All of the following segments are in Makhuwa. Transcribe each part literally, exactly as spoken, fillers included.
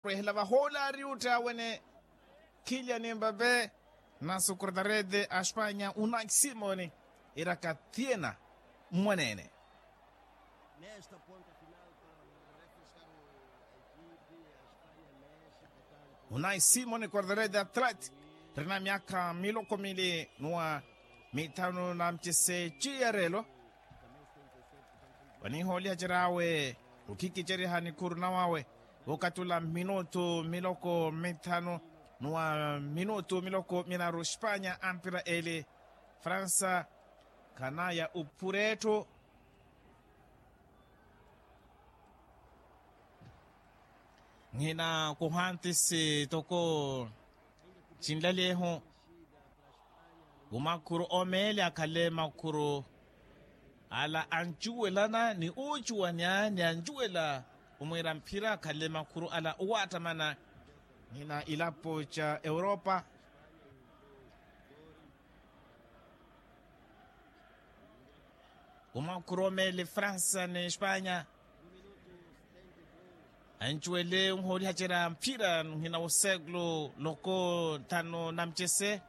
Rwehela vahoolari uttha wene. Kilian mbape. Nasu kortarete a espanya unai simoni. Iraka thiena mmwanene. Unai simoni kortarete atlati. Rina myaka miloko mili nuwa mithanu na mcese ciyarelo. Wanihooliha cer'awe okhikiceriha nikhuru nawawe wokatula minutu miloko mithanu nuwa minutu miloko minaru espanya ampira eli. Fransa khanaya uphuretthu. Nhina kuhantisi toko cinlalyehu. Umakhuru omeele akhale makhuru ala ancuwelana ni ucuwanya ni ancuwela omwiira mphira akhale makhuru ala owaattamana. Nhina ilapo ca europa. Umakhuru omeele fransa ni espanya. Ancuwele onhoolihacerya mphira nhina wosekulu loko nthanu na mcese.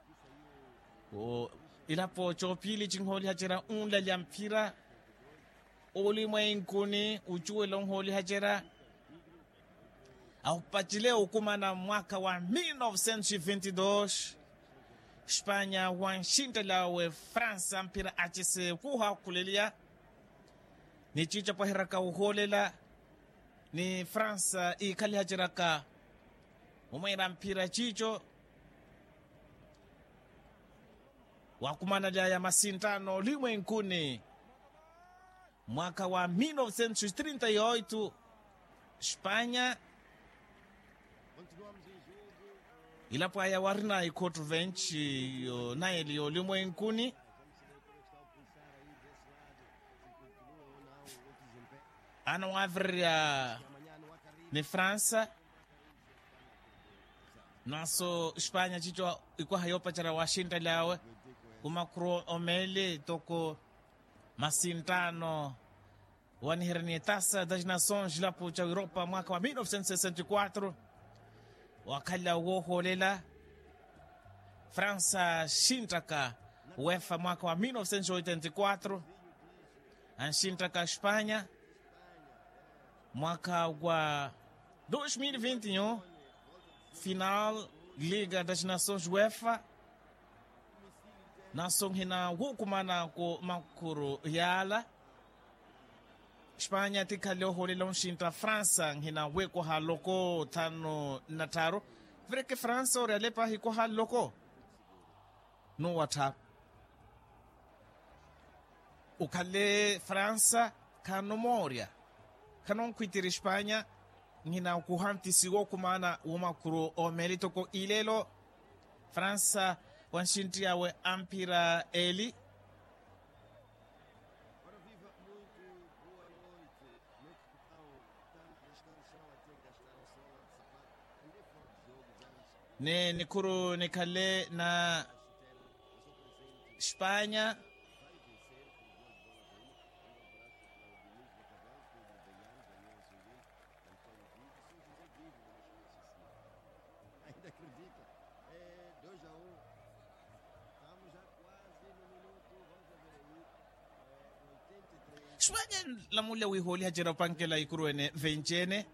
Ilapo coopili cinhoolihacerya onlalya mphira. Olimwenkuni ocuwela onhoolihacerya ahupacile okumana mwaakha wa mil novecentos e vinte dos. Espanya wanxinttelawe fransa mphira acese kuhakhuleliya. Ni ciico apwaheraka ohoolela ni fransa iikhalihaceraka omweera mphira ciico. Wakumanalya ya masinttano olimwenkuni mwaakha wa mil novecentos e trinta e oito. Espanya ilapo aya warina ikhotto venti yo naili yolimwenkuni. Ana waavirerya ni fransa. Naso espanya cico ikwaha yoopacerya waxinttelawe. Kumakhuru omeele toko masinttano waniherya ni etasa das nações cilapo ca europa mwaakha wa mil novecentos e sessenta e quatro. Wakhala woohoolela fransa axinttaka wefa mwaakha wa mil novecentos e oitenta e quatro. Anxinttaka espanya mwaakha wa dos mil e vinte e um. Final liga das nações wefa. Naso nhina wukumanako makhuru yaala. Espanya tikhale ohoolela onxintta fransa nhina wekwaha loko thanu na tharu. Vireke fransa ori alepa ahikwaha loko. Nuwattha ukhale fransa khanomoorya. Khanonkhwitiri espanya nhina okuhantisi wookumaana womakhuru omeeli toko ilelo. Fransa wanxinttiyawe amphira eli. Ni nikhuru nikhale na espanya. Espanya nlamulya wihooliha cera opankela ikuru ene venci ene.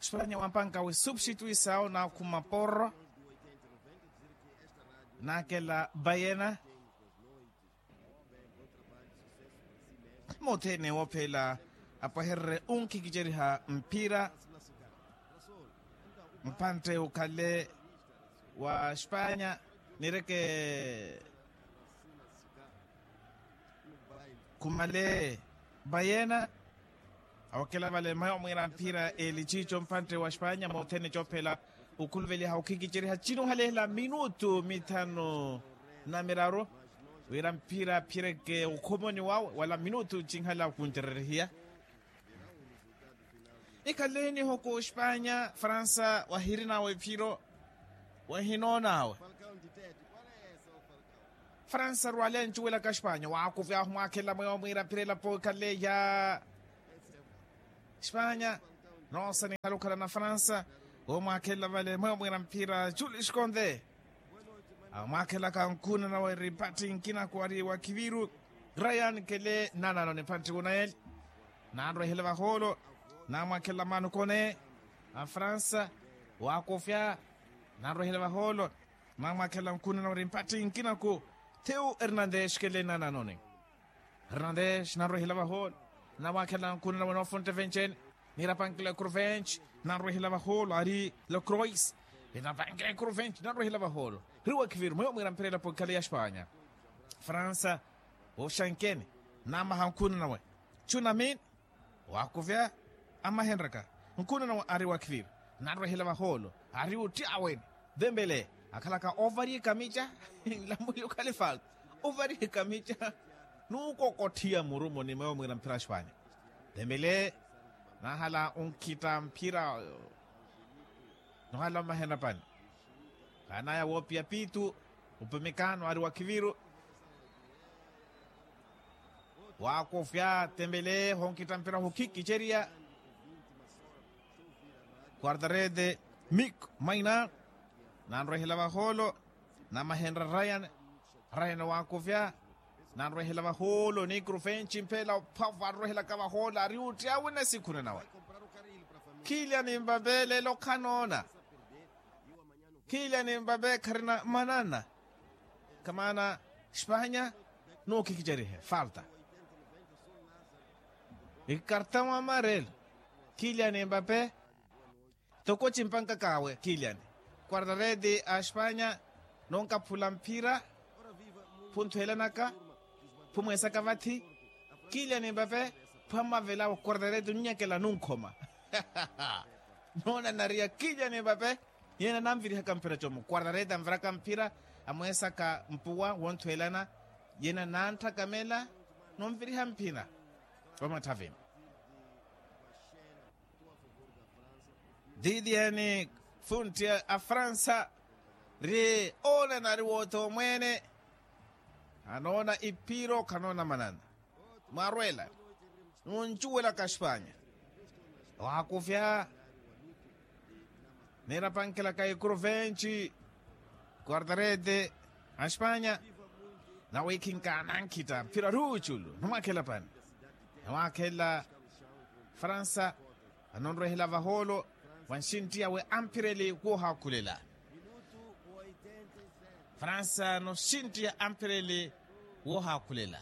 Espanya wampanka wi substituisawo nakhuma porro. Nakela bayena. Mothene woophela apwahererye onkhikiceriha mphira. Mpantte ukhale wa espanya nireke khumale bayena. Awakela vale maya omwiira mphira eli ciico mpantte wa espanya mothene coophela okhuluveliha okhikiceriha cinuhalehela minutu mithanu na miraru wira mphira aphireke okhomoni wawe wala minutu cinhala okhuncererehiya. Ikhaleheniho ku espanya fransa wahirinawe ephiro wahinoonawe. Fransa rwale ancuwelaka espanya waakuvyahu mwakhela mweyo mwiira aphira elapo ikhale ya espanya. Noosaniha lukhala na fransa. Omwaakhelela vale mweyo mwiira mphira julius konde. Amwaakhelaka nkuna nawe ri mpatthi nkinaku ari wa kiviru. Ryan kele nanano ni mpatthi kunaeli. Nanrwehela vahoolo. Namwaakhelela maano kone a fransa. Waakofya. Nanrwehela vahoolo. Namwaakhelela nkuna nawe ri mpatthi nkinaku. Thiu hernandes kele nananoni. Hernandes nanrwehela vahoolo. Namwaakhelela nkuna nawe noofuntte venci-ene. Niirapankela ekuru venci. Nanrwehela vahoolo ari lokrois. Inapankela ekuru venci nanrwehela vahoolo. Ri wa kiviru mweyo mwiira mphira elapo ekhale ya espanya. Fransa. Oxankene. Namaha nkuna nawe. Cunamini. Waakuvya. Amahenraka. Nkuna nawe ari wa kiviru. Nanrwehela vahoolo. Ari otti aweni. Dembele akhalaka ovari ekamica. Nlamuli okhali falta. Ovari ekamica. Nuukokotthiya murumo ni mweyo mwiira mphira espanya. Dembele. Nahala onkhitta mphira. Nohala omahenrapani. Kaanaya woopiya piitu. Upemekaano ari wa kiviru. Waakofya tembele honkita mpira hokhikiceriya. Quartarede mik maina. Nanrwehela vahoolo. Namahenra ryan. Ryan waakofya. Nanrwehela vahoolo ni kruvenci mphela ophavu anrwehelaka vahoolo ari otti awe na sikhuna nawe. Kilian mbape lelo khanoona. Kilian mbape kharina manana. Kamaana espanya. Nookikicerihe falta. Ikartão amarelo. Kilian mbape. Toko cimpankaka awe kilian. Quartarede a espanya. Nonkaphula mphira. Phunthuhelanaka. Phumweesaka vathi. Kilian mbape. Phammavela wa quartarede onnyakela nunkhoma. Noonanariya kilian mbape. Yena nanvirihaka mphira comu quartarede anviraka mphira. Amweesaka mpuwa wonthuhelana. Yena nanthakamela. Nonviriha mphira. Omatthavini. Didiyeni funtti a fransa. Ri oonana ari woothomweene. Anoona iphiro khanoona manana. Mwarwela. Nuncuwelaka espanya. Waakufya. Niirapankelaka ikuru venci. Quartarede a espanya. Nawiikhinka nankhita mphira ruuculu namwakhela pani. Namwakhela. Fransa. Anonrwehela vahoolo. Wa nxintti awe amphireli woohaakhulela. Fransa noxintti ya amphireli. Woohaakhulela.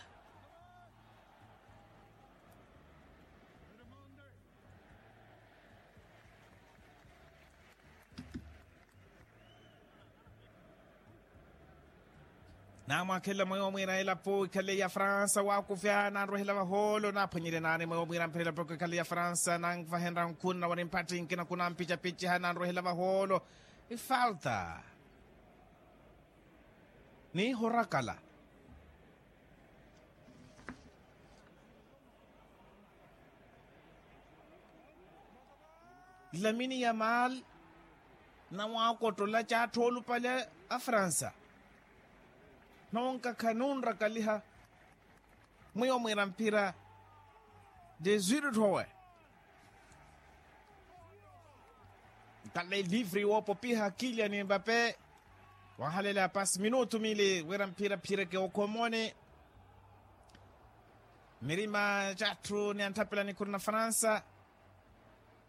Naamwakhela mweyo mwiira elapo ikhale ya fransa waakufya nanrwehela vahoolo naaphwanyerye naani mweyo mwiira mphira elapo ikhale ya fransa nanvahenra nkhuna wari mpatthi nkina kunampicapiceha nanrwehela vahoolo. Ifalta. Niihorakala. Lamini ya maali. Nawaakottolaka atthu oolupale a fransa. Nonkakha nunrakaliha. Mwiyo mwiira mphira. Desuitu tthoowe. Nkale livre woopopiha kiliani mbape. Wahalela pasi minutu mili wira mphira phireke okhomoni. Mirima catthu ni antthapela nikhuru na fransa.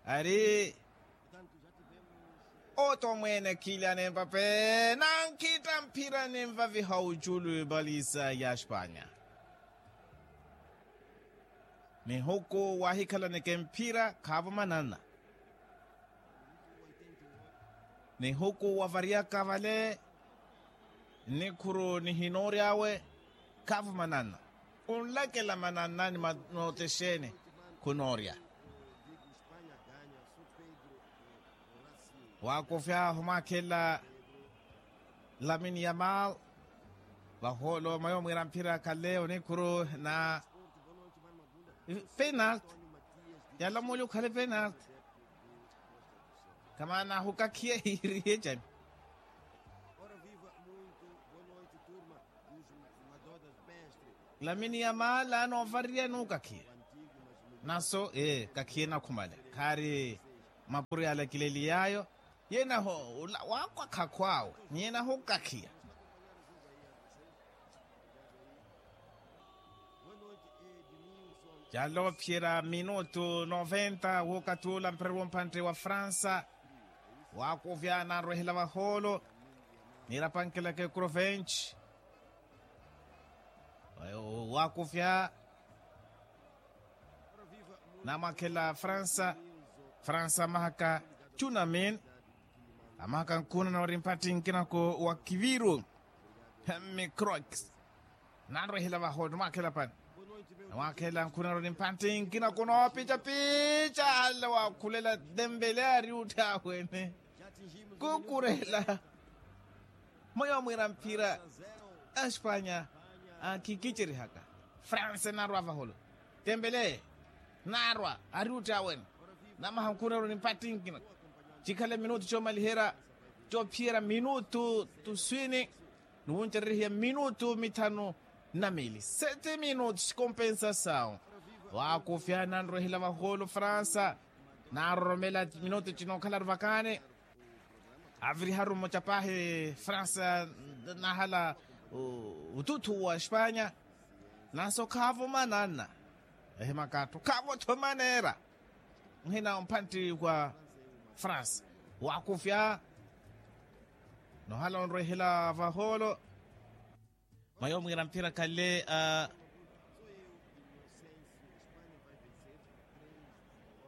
Ari oto mweene kiliani mbape nankhitta mphira ninvaviha oculu ebalisa ya espanya. Nihuku wahikhalaneke mphira khaavo manana. Nihuku wavariyaka vale. Nnikhuru nihinoorya awe. Khaavo manana. Onlakela manana ni nootexeene. Khunoorya. Waakofya ahu mwaakhela. Lamini ya maal. Vahoolo mayo mwiira mphira khale onikhuru na. Penalt. Yala mooli okhale penalt. Kamaana ahukakhiye hiiriye cani. Lamini ya maal anoovariya nookakhiye. Naso ee kakhiye nakhumale. Khaari. Mapuri alakileliy'ayo, yenaho ula wakwakha akhw'awe, nyenaho kakhiya. Calophiyerya minutu noventa wookathi ula mpira w'ompantte wa fransa. Waakuvya nanrwehela vahoolo, niirapankelaka ekrovenci. Waakuvya namwakhela fransa. Fransa amahaka cunamin, amahaka nkhuna na wari mpatthi nkinako wa kiviru. Hemmi croix nanrwehela vahoolo nimwakhela pani. Namwakhela nkhuna na wari mpatthi nkinako noopicapica ale waakhulela dembele ari uttha awene. Kukurela mweyo mwiira mphira. Aspanya akhikicerihaka. Fransa enarwa vaholo. Tembele narwa ari utti awene. Namaha nkhuna ori mpatthi nkina. Cikhale minutu comaliherya cophiyerya minutu tuswini. Niwuncererihiya minutu mithanu na mili sete minutu sikompensa sawu. Waakufya nanrwehela vaholo fransa. Naroromela minutu cinokhalaru vakani. Aviriharu mmoca paahi fransa nahala ututthu wa espanya. Nanso khaavo mananna ehimaka atthu khaavo-tho maneera. Nhina omphantti wa fransa waakufya nohala onrwehela vahoolo. Mwayo mwiira mphira khale a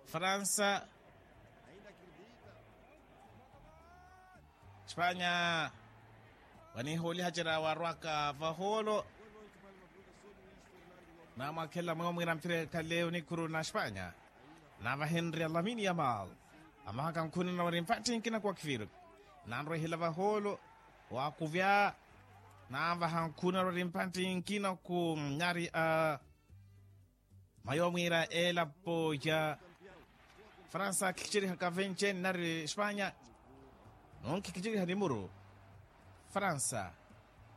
fransa. Espanya waniihoolihacerya warwaka vahoolo. Namwakhela mwayo mwiira mphira khale onikhuru na espanya. Navahenrya lamini yamal amahaka nkhuna na wari mpatthi nkina ku akhiviru. Nanrwehela vahoolo waakuvya. Nanvaha nkhuna na wari mpatthi nkina ku nyari a mwayo mwiira elapo ya fransa akhikicerihaka venci eni nari espanya. Nonkhikicerihani muru fransa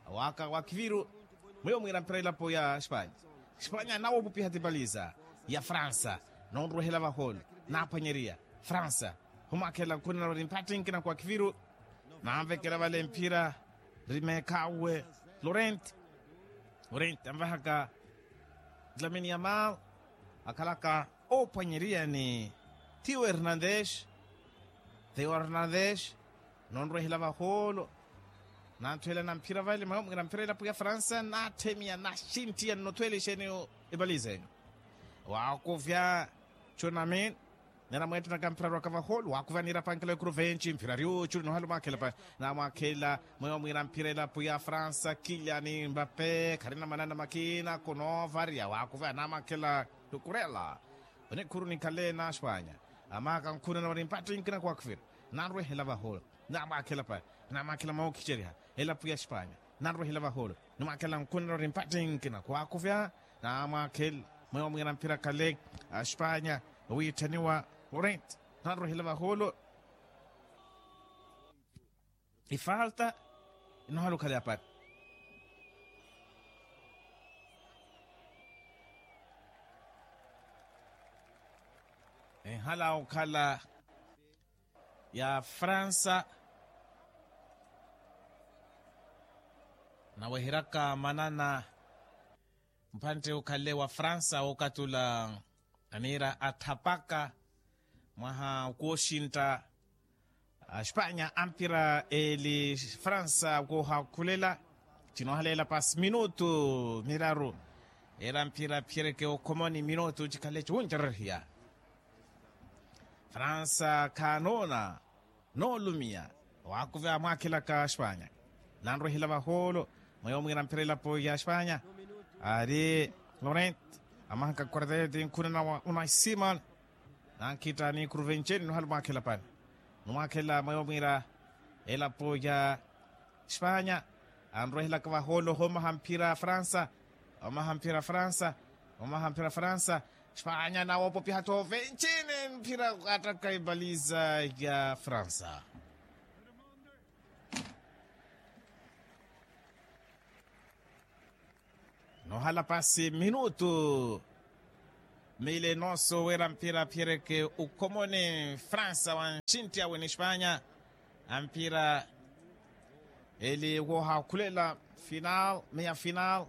awaaka wa kiviru. Mweyo mwiira mphira elapo ya espanya. Espanya nawopupiha tipaliza ya fransa nonrwehela vahoolo. Naphwanyeriya fransa humwakhela nkhuna na wari mpatthi nkina ku akhiviru. Nanvekela vale mphira ri meekhawe. Lorent lorent anvahaka lamini yamal akhalaka oophwanyeriya ni theo hernandez. Theo hernandez nonrwehela vahoolo. Nanthwela na mphira vale mwayo mwiira mphira elapo ya fransa natthemiya naxinttiya nnothwela exeeni. Epaliza enu waakuvya. Cunamin nena mweettenaka mphira rwaka vahoolo waakuvya niirapankela ekuru venci mphira ri uculi nohala omwakhela pa. Namwakhela mweyo mwiira mphira elapo ya fransa kiliani mbape kharina manana makina kunoovarya waakuvya namwakhela. Tukurela onikhuru nikhale na espanya. Amaka nkhuna na wari mpatthi nkina ku akhiviru. Nanrwehela vahoolo namwakhela pa. Namwakhela mwawo okhiceriha elapo ya espanya. Nanrwehela vahoolo nimwakhela nkhuna na wari mpatthi nkina ku akhiviru. Namwakhela mweyo mwiira mphira khale a espanya owiitthaniwa lorent. Nanrwehela vahoolo ifalta inohala okhala yapari. Ehala okhala ya fransa. Naweheryaka manana mphantte okhale wa fransa wookatula aniira athapaka mwaha okooxintta. Espanya ampira eli fransa koohakhulela. Cinoohaleela pasi minutu miraru. Era mpira phiyereke okhomoni minutu cikhale ciwuncererhiya. Fransa khaanoona noolumiya. Waakuve amwaakhelaka espanya. Nanrwehela vahoolo mweyo mwiira mpira elapo ya espanya. Ari lorent amahaka quartete nkhuna na unai simon. Nankhitta ni kruvenceni nohala omwaakhela pani. Nomwaakhela mweyo mwiira elapo ya espanya. Anrwehelaka vahoolo homaha mphira fransa. Omaha mphira fransa. Omaha mphira fransa. Espanya nawopopiha toovenceni mphira attaka epaliza ya fransa. Nohala pasi minutu Mile noso wira mpira phireke ukhomoni fransa wa nxinti awe ni espanya. Ampira eli wohakhulela final meia final.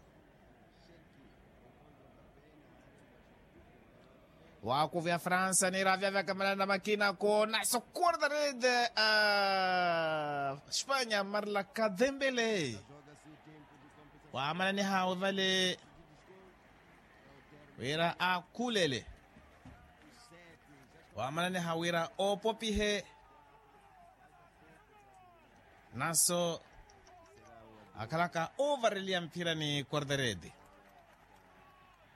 Wakuvi a fransa nira vyavyakamanana makina ko naso quartarede a espanya marla kadembele. Wamananiha wivale wira akhulele wamananiha wira oopopihe. Naso akhalaka oovareliya mphira ni quartarede.